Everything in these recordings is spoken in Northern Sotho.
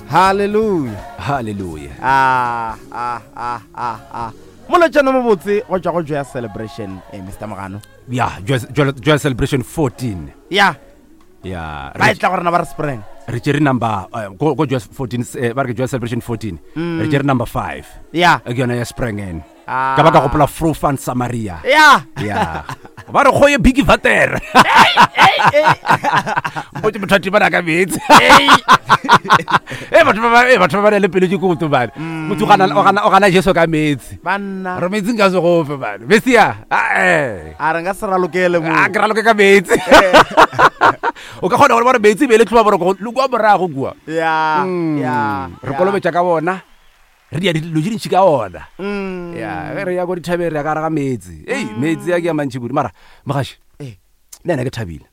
Hallelujah. Hallelujah. Ah, ah, ah, ah, ah. Molotšana mobotse go tšwa go Joya Celebration, eh, Mr. Mogano. Ya, Joya, Joya, Joya Celebration 14. Ya. Ya. Ba e tla go rena ba re sprang. Re tšere number eh, go go Joya 14 eh, ba re ke Joya Celebration 14. Re tšere number 5. Ya. Ke yona ya Sprangen. Ah. Ka ba ka gopola Frofan Samaria. Ya. Ya. Ba re kgoye Biggie Vater. Mpotse motho a tibana ka meetse. Eh batho ba ba eh batho ba ba na le pelo ke koto bana. Motho o gana o gana o gana Jesu ka meetse. Banna. Re meetse nka se gofe bana. Mesia. Ah eh. A re nka se ralokele mo. A ke raloke ka meetse. O ka kgona gore ba re meetse e be e le tlhoba boroko le kua morago kua. Ya. Ya. Re kolobetša ka bona. Re dia dilo tše dintši ka ona. Mm. Ya, ge re ya ko dithabeng re ya ka gare ga meetse. Ei, meetse a ke a mantši kudu. Mara, mogaši, Eh. le ena ke thabile.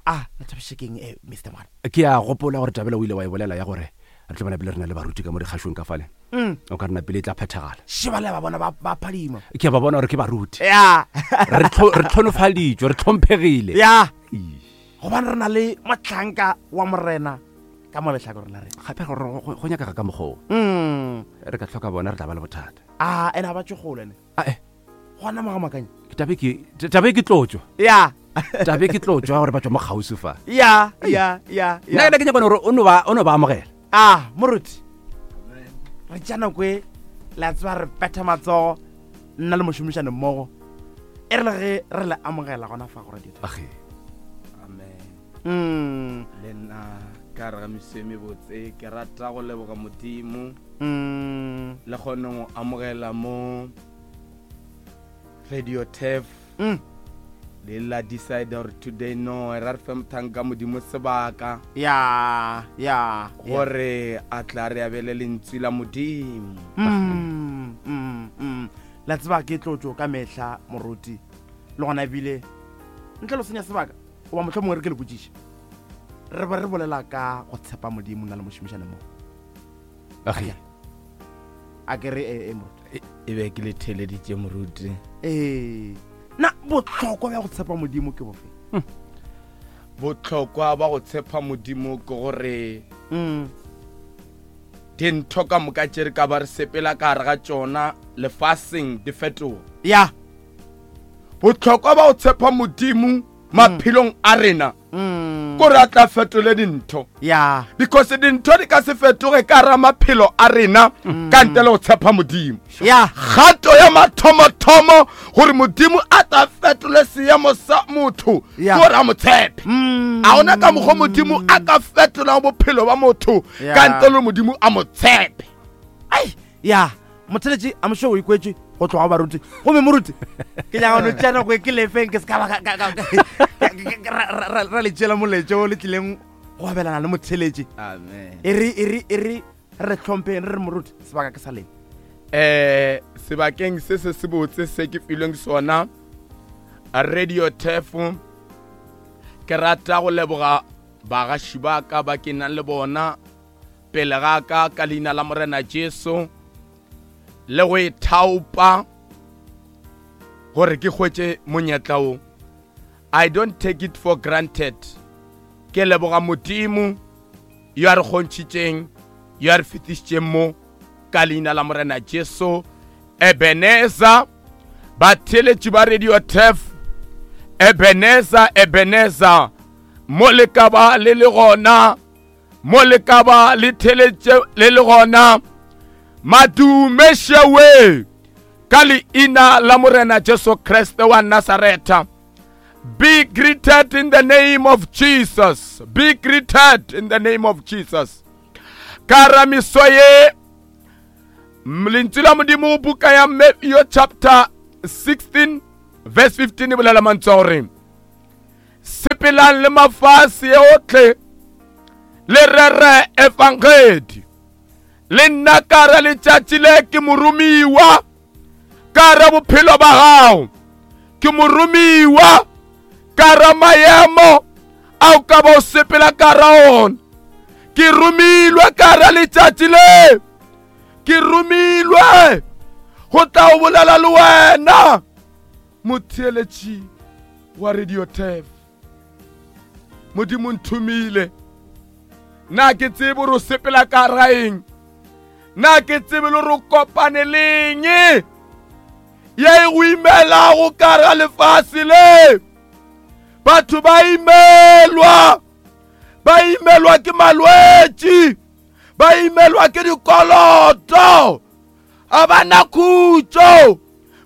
Ah, le thabiše keng eh, Mr. Mogano? Ke a gopola gore tabela o ile wa e bolela ya gore re tlo bona pele re na le baruti ka mo dikgašong ka fale. Mm. O ka rena pele e tla phethagala. Šebale ba bona ba ba phadima. Ke a ba bona gore ke baruti. Ya. Re tlho- re tlhonofaditšwe, re tlhomphegile. Ya. Ii. Gobane re na le mohlanka wa Morena ka mo lehlakoreng la rena. Gape go nyakega ka mokgwa o. Mm. Re ka hloka bona re tla ba le bothata. A ene a ba tšwe kgole ne. A eh. Gona mo ga makanya. Tabe ke tabe ke tlotšwa. Ya. Tabe ke tlotšwa gore ba tšwa mo kgauswi fa. Ya, ya, ya, ya. Nna ke nyaka gore o no ba o no ba amogela. Ah, moruti. Re tša nako e la tseba re betha matsogo nna le mošomišane mmogo. E re le ge re le amogela gona fa go radio. Age. Amen. Mm. Le nna ka re ga meso e mebotse ke rata go leboga Modimo Mm. le kgone go amogela mo Radio Turf Mm. le la decide gore today no ra re fe mothanka Modimo sebaka Ya, ya. gore a tla re abele lentswe la Modimo. Mm, mm, mm. La tseba ke tlotšo ka mehla moruti le gona ebile ntle le senya sebaka goba motlho mongwe re ke le botšiše re be re bolela ka go tshepa modimo nna le mošomišane mo Age. a ke re ee moruti E be ke le theeleditše moruti. ee na bohlokwa bja go tshepa modimo ke bofe Bohlokwa ba go tshepa modimo ke gore mm. dintho ka moka tše re ka ba re sepela ka gare ga tšona lefaseng di fetoga. Ya. Bohlokwa ba go tshepa modimo maphelong a rena mm. kore a tla fetole dintho ya because dintho di ka se fetoge ka ra maphelo a rena mm. ka ntle le go tshepa modimo ya kgato ya mathomothomo gore modimo a tla fetole seemo sa motho gore a mo tshepe mm. a ona ka mokgwa modimo a ka fetolang bophelo ba motho ka ntle le modimo a mo tshepe ai ya motheletši a mošo o ikwetše go tloga baruti gomme moruti ke nyaka no tšea nako e ke lefeng ke se ka ba ra le tšeela moletše o le tlileng go abelana le motheletši e re e re e re re tlhompheng re re moruti sebaka ke sa leng um sebakeng se se se botse se ke filweng sona radio tef ke rata go leboga bagaši ba ka ba ke nang le bona pele ga ka ka leina la Morena Jesu le go ithaopa gore ke hwetše monyetla wo. I don't take it for granted. Ke leboga Modimo yo a re kgontšhitšeng, yo a re fetišitšeng mo ka leina la Morena Jesu. Ebenezer, batheeletši ba Radio Turf, Ebenezer, Ebenezer, mo le ka ba le le gona mo le ka ba le theletše le le gona madume šewe ka leina la morena jesu kriste wa nasaretha be greeted in the name of jesus be greeted in the name of jesus ka ramiso ye lentswe la modimo buka ya matthew chapter 16 verse 15 e bolela mantswe a gore Sepelang le mafase ohle le rere efangedi. Le nna ka re letšatši le ke moromiwa ka re bophelo ba gago. Ke moromiwa ka re maemo a o ka ba o sepela ka ra ona. Ke romilwe ka re letšatši le. Ke romilwe go tla o bolela le wena. Motheeletši wa Radio Turf, Modimo nthomile. Na ke tsebe gore o sepela ka raeng? Na ke tsebe le gore o kopane leng ye e go imelago ka ga lefase le? Batho ba imelwa, ba imelwa ke malwetši, ba imelwa ke dikoloto, a ba na khutšo,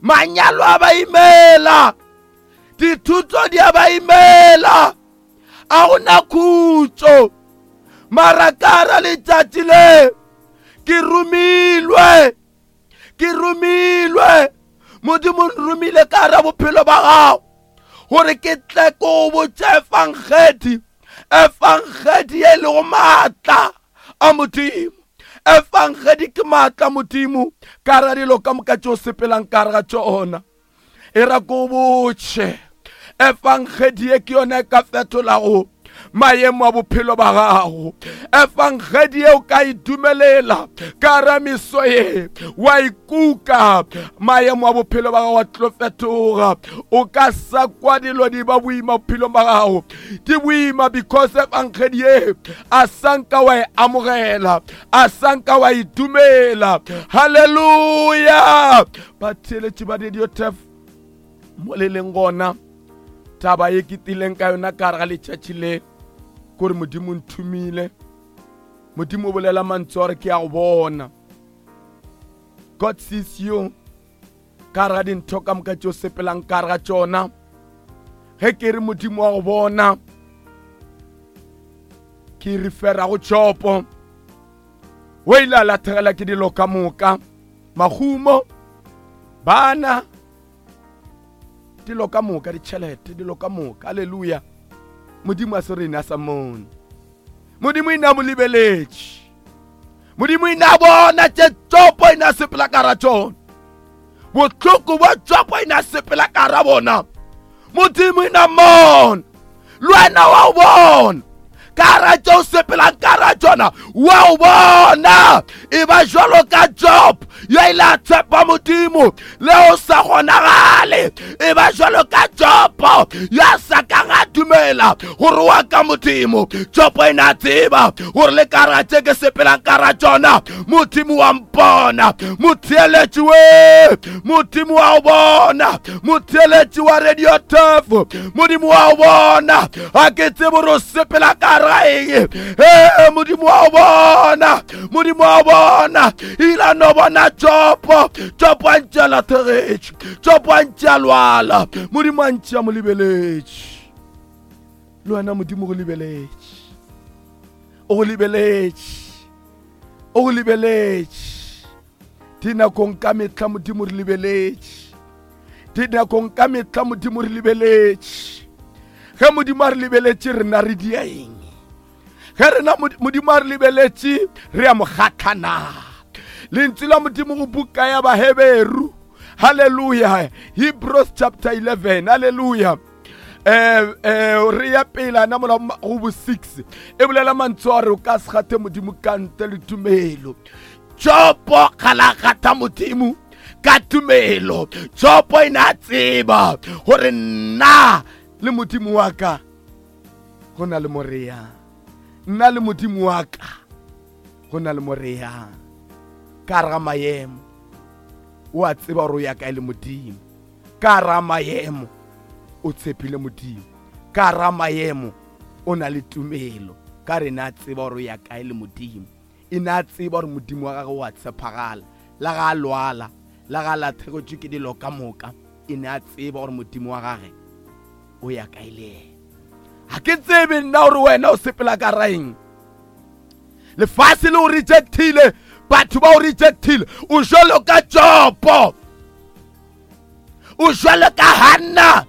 manyalo a ba imela, dithuto di a ba imela. A go na khutšo. Mara ka ra letšatši le ke romilwe, ke romilwe, Modimo nromile ka ra bophelo ba gago gore ke tle ko botše efangedi, efangedi ye e lego maatla a Modimo. Efangedi ke maatla a Modimo ka ra dilo ka moka tšeo sepelang ka re ga tšona. E ra ko botše, efangedi ye ke yona e ka fetolago maemo a bophelo ba gago. Efangedi ye o ka e dumelela ka ra meso ye, wa ikuka, maemo a bophelo ba gago a tlo fetoga. O ka sa kwa dilo di ba boima bophelong ba gago, di boima because efangedi ye a sanka wa e amogela, a sanka wa e dumela. Haleluya! Batheeletši ba Radio Turf mo le leng gona, taba ye ke tileng ka yona ka gare ga letšatši le kore Modimo nthomile. Modimo o bolela mantswe gore ke a go bona. God sees you ka gare ga dintho ka moka tšeo sepelang ka gare ga tšona. Ge ke re Modimo wa go bona, ke refera go Jobo. O ile a lathegela ke dilo ka moka, mahumo, bana, dilo ka moka, ditšhelete, dilo ka moka. Haleluya. Modimo a se rene a sa mone. Modimo ina mo lebeletše. Modimo ina bona tše Jobo ina sepela ka ra tšona. Bohloko bwa Jobo ina sepela ka ra bona. Modimo ina mona. Le wena wa o bona. Ka ra tše o sepelang ka ra tšona, wa o bona. E ba jwalo ka Job ya ile a tshepa Modimo le o sa kgonagale. E ba jwalo ka Job ya sa kang a dumela gore wa ka Modimo. Job e na tseba gore le ka ra tše ke sepelang ka ra tšona, Modimo wa mpona. Motheeletši we, Modimo wa o bona. Motheeletši wa Radio Turf, Modimo wa o bona. A ke tsebe gore o sepela ka ra eng. Ee, Modimo wa o bona, Modimo wa o bona. Ile no bona Jobo, Jobo a ntše a lathegetše, Jobo a ntše a lwala, Modimo a ntše a mo lebeletše. Le wena Modimo go lebeletše, o go lebeletše, o go lebeletše. Dinakong ka mehla Modimo re lebeletše, dinakong ka mehla Modimo re lebeletše. Ge Modimo a re lebeletše, rena re dia eng? Ge rena Modimo a re lebeletše, re a mo kgatha na? Lentswe la Modimo go buka ya Baheberu, haleluya, Hebrews chapter 11, haleluya. Re ya pele ana mola go bo 6 e bolela mantswe a re o ka se gate Modimo ka ntle le tumelo. Jobo ga gata Modimo ka tumelo. Jobo e ne a tseba gore nna le Modimo wa ka go na le mo re yang. Nna le Modimo wa ka go na le mo re yang. Ka gare ga maemo o a tseba gore o ya kae le Modimo. Ka gare ga maemo o tshepile Modimo. Ka gare ga maemo o na le tumelo. Ka re ne a tseba gore o ya kae le Modimo. E ne a tseba gore Modimo wa gagwe o a tshepagala. La ga a lwala, la ga a lathegetšwe ke dilo ka moka, e ne a tseba gore Modimo wa gagwe o ya kae le yena. Ga ke tsebe nna gore wena o sepela ka raeng. Lefase le o rejectile, batho ba o rejectile. O jwalo ka Jobo, o jwalo ka Hanna.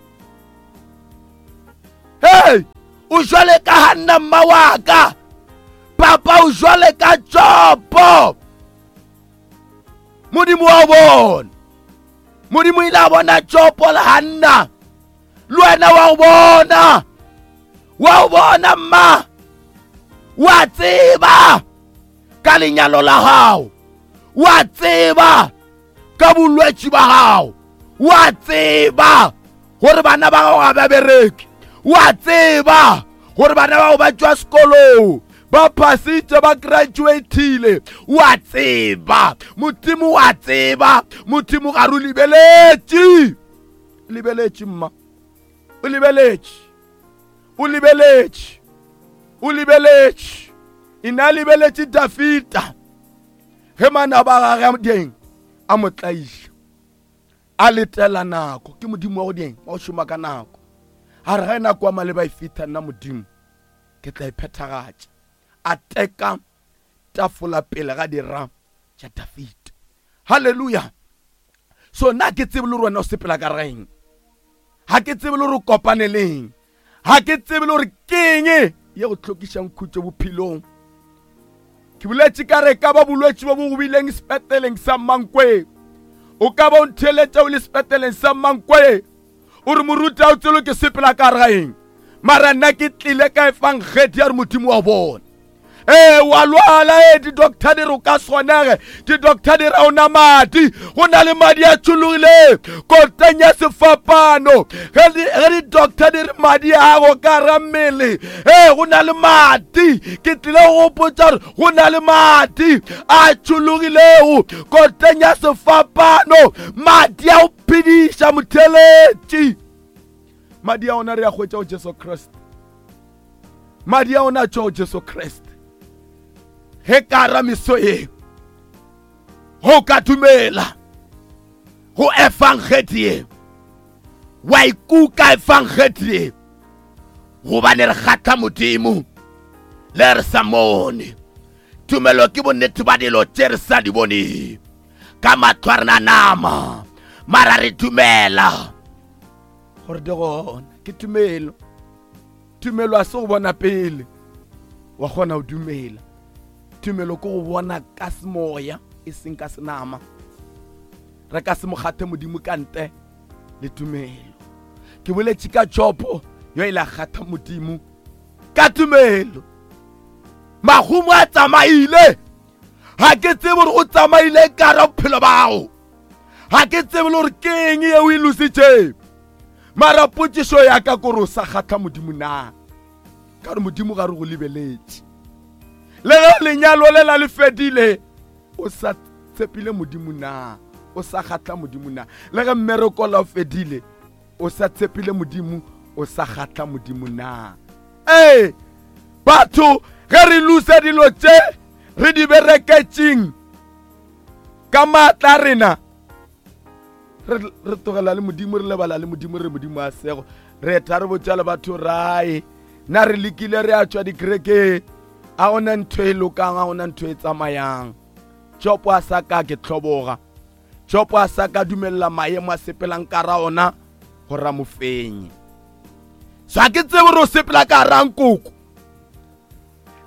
Hey, o jwale ka Hanna mma wa ka. Papa o jwale ka Jobo. Modimo wa bona. Modimo ile a bona Jobo le Hanna. Le wena wa o bona. Wa o bona mma. Wa tseba ka lenyalo la gago. Wa tseba ka bolwetši ba gago. Wa tseba gore bana ba gago ga ba bereke. Wa tseba gore bana ba gago ba tšwa sekolong. Ba phasitše, ba graduatile. O a tseba. Modimo o a tseba. Modimo ga re o lebeletše. Lebeletše, mma. O lebeletše. O lebeletše. O lebeletše. E ne a lebeletše Dafida ge manaba a gagwe deng a mo tlaiša. A letela nako. Ke Modimo wa go deng wa go šoma ka nako. A re ge nako ya maleba e fihla, nna Modimo ke tla e phethagatša. A teka tafola pele ga dira tša Dafida. Haleluya! So nna ke tsebe le gore wena o sepela ka reng. Ga ke tsebe le gore o kopane leng. Ga ke tsebe le gore ke eng ye go hlokišang khutšo bophelong. Ke boletše ka re ka ba bolwetši bo bo go bileng sepetleleng sa Mankweng. O ka ba o ntheeletša o le sepetleleng sa Mankweng. O re moruti a o tselo ke sepela ka gare ga eng? Mara nna ke tlile ka efangedi ya re Modimo wa bona. Ee, wa lwala, ee, di-doctor di re o ka swanege, di-doctor di re o na madi, go na le madi a tšhologile koteng ya sefapano. Ge di-doctor di re madi a go ka ra mmele, ee, go na le madi. Ke tlile go gopotša gore go na le madi a tšhologilego koteng ya sefapano, madi a go phediša motheletši. Madi a ona re a hwetša go Jesu Kriste. Madi a ona a tšwa go Jesu Kriste. Ge ka ra meso ye, go ka dumela go efangedi ye, wa ikuka efangedi ye, gobane re kgatha Modimo le re sa mone. Tumelo ke bonnete ba dilo tše re sa di boneng ka mahlo a rena nama, mara re dumela gore di gona. Ke tumelo. Tumelo a se go bona pele wa kgona go dumela. Tumelo ke go bona ka semoya e seng ka senama. Re ka se mo kgathe Modimo ka ntle le tumelo. Ke boletše ka Jobo yo ile a kgatha Modimo ka tumelo. Mahumo a tsamaile. Ga ke tsebe gore o tsamaile ka ra bophelo bago. Ga ke tsebe le gore ke eng yeo e lositšeng. Mara potšišo ya ka kore o sa kgatha Modimo na? Ka gore Modimo ga re go lebeletše. Le ge lenyalo le la le fedile, o sa tshepile Modimo na? O sa kgatha Modimo na? Le ge mmereko la o fedile, o sa tshepile Modimo, o sa kgatha Modimo na? Ee, batho ge re lusa dilo tše re di bereketšeng ka maatla a rena, re tlogela le Modimo, re lebala le Modimo, re Modimo a sego. Re etha re botša le batho rae, na re lekile re a tšwa dikerekeng, a gona ntho e lokang, a gona ntho e tsamayang. Jobo a sa ka ke hloboga. Jobo a sa ka dumelela maemo a sepelang ka ra ona gore a mo fenye. So a ke tsebe gore o sepela ka ra nkoko.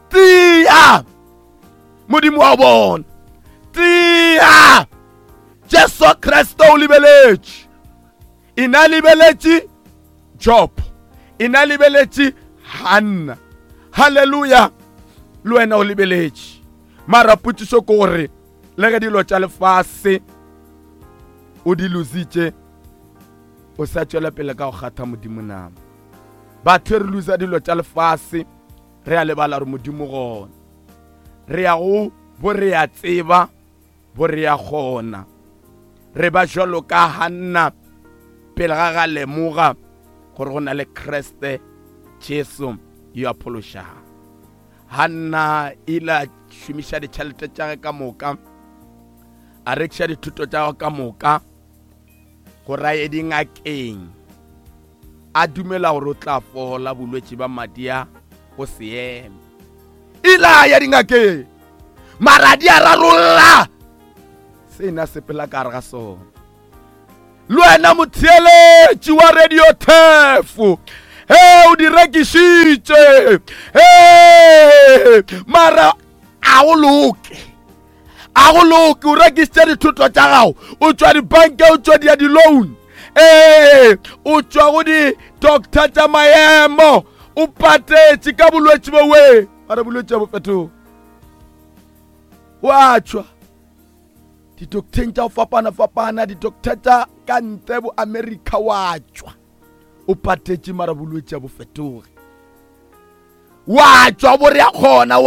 Tia! Modimo wa bona. Tia! Jesu Kriste o lebeletše. E na lebeletše Job. E na lebeletše Hanna. Hallelujah. Le wena o lebeletše. Mara potšišo ke gore le ge dilo tša lefase o di lositše, o sa tšwela pele ka go kgatha Modimo nama. Batho re losa dilo tša lefase, re a lebala gore Modimo gona. Re ya go bo re a tseba, bo re a kgona. Re ba jwalo ka Hanna pele ga ga lemoga gore go na le Kriste Jesu yo a phološago. Hanna ile a šomiša ditšhelete tša ge ka moka, a rekiša dithuto tša gagwe ka moka gore a ye dingakeng, a dumela gore o tla fola bolwetši ba madi a go se eme. Ile a ya dingakeng, mara di a rarolla se na sepela ka gare ga sona. Le wena motheeletši wa Radio Thefo, he o di rekišitše, he mara a go loke, a go loke. O rekišitše dithoto tša gago, o tšwa dibanke, o tšwa dia di-loan, ee, o tšwa go di-doctor tša maemo, o patetše ka bolwetši bo we, mara bolwetši bo fetoga, wa tšwa di-docteng tša go fapana-fapana, di-doctor tša ka ntle bo America, wa tšwa o patetše mara bolwetši bo fetoge, wa tšwa bo re a kgona wa.